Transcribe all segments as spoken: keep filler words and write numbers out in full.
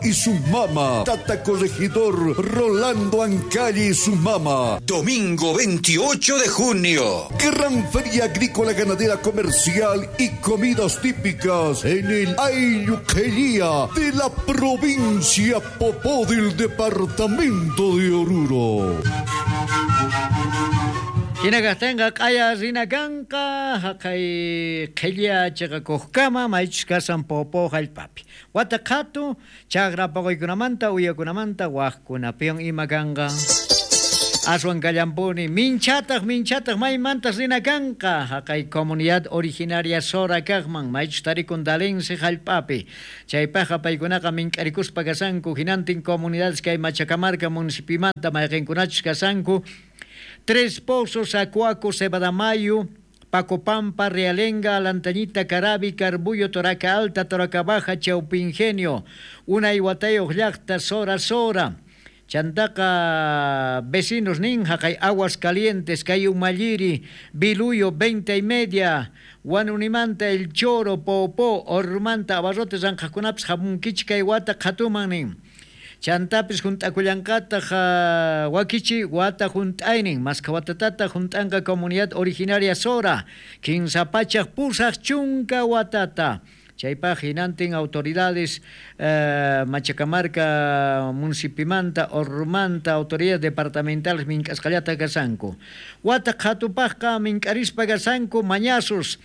y su mama. Tata Corregidor Rolando Ancalle y su mama. Domingo veintiocho de junio. Gran Feria Agrícola Ganadera Comercial y comidas típicas en el Ayuquería de la provincia Popó del departamento de Oruro. Hina kaqtinqa q'aya rina kanqa haqay qhilla chiqakuqkama maychus kasan Popó hallp'api. Wata qhatu chaqra paquykunamanta uyakunamanta waqkunapiwan ima kanqa. Aswan kallampuni minchataq minchataq maymantas rina kanqa haqay comunidad originaria Sora kaqman maychus tarikun Dalense hallp'api. Chaypaqqa paykunaqa mink'arikuspa kasanku hinantin comunidades kay Machacamarca municipimanta mayqinkunachus kasanku. Tres Pozos, Acuaco, Cebadamayo, Pacopampa, Realenga, Lantañita, Carabi, Carbullo, Toraca Alta, Toraca Baja, Chaupingenio, Unay Huatayo, Llaqta, Sora, Sora. Chantaqa, vecinos nin, Jacay, Aguas Calientes, Cayumalliri, Biluyo, veinte y media, Guanunimanta, El Choro, Popó, Ormanta, Abarrotes, Anjacunaps, Jamunquichca, Iwata, Jatuman nin. Chantapis juntakullanqataq wakichi wata junt'aynin maska watatata junt'anqa comunidad originaria Sora kinsa pachaq pusaq chunka watata. Chaypaq hinantin autoridades eh, Machacamarca municipimanta Ormanta autoridades departamentales mink'asqallata kasanku. Wata qhatupaqqa mink'arispa kasanku mañasus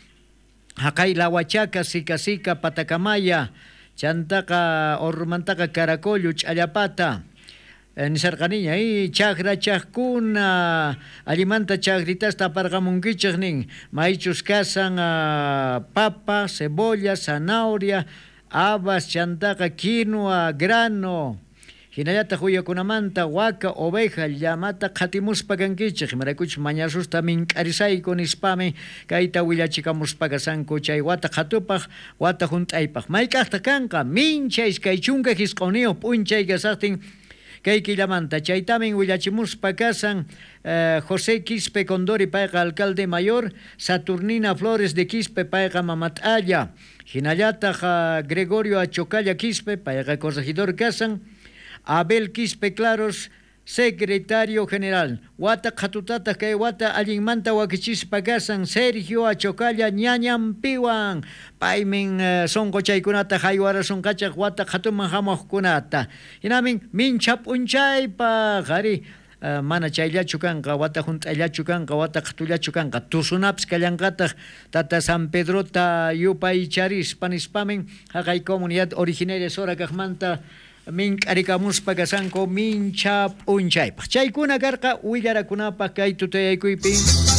haqay Lahuachaca, Sica Sica, Patacamaya, Chantaqa Ormantaqa Caracollo, Ch'allapata. Nisarqaniña y chaqra chaqkuna allimanta chaqritasta aparqamunkichik nin maychus kasan uh, papa, cebolla, zanahoria, habas, chantaqa quinoa, grano. Hinallataq uyakunamanta waka, oveja, llamata qhatimuspa kankichik imaraykuchus mañasusta mink'arisayku nispami kayta willachikamuspa kasanku chay wata qhatupaq wata hunt'aypaq mayk'aqtaq kanqa mincha iskay chunka hisq'uniyuq p'unchay kasaqtin kay killamanta chaytamin willachimuspa kasan eh, José Quispe Condori payqa alcalde mayor, Saturnina Flores de Quispe payqa mamat'alla, hinallataq uh, Gregorio Achocalla Quispe payqa corregidor kasan, Abel Quispe Claros, secretario general. Wata qhatutataq kay wata allinmanta wakichispa kasan Sergio Achocalla ñañanpiwan. Paymin uh, sonqochaykunata haywarasunqachaq wata qhatuman hamuqkunata. Hinamin mincha p'unchaypaq ari uh, mana chayllachu kanqa wata hunt'ayllachu kanqa wata qhatullachu kanqa tusunapis kallanqataq tata San Pedrota yupaycharispa nispamin haqay comunidad originaria Sora kaqmanta mink'arikamuspa kasanku mincha p'unchaypaq. Chaykuna karqa willarakunapaq kay tutayaykuypi.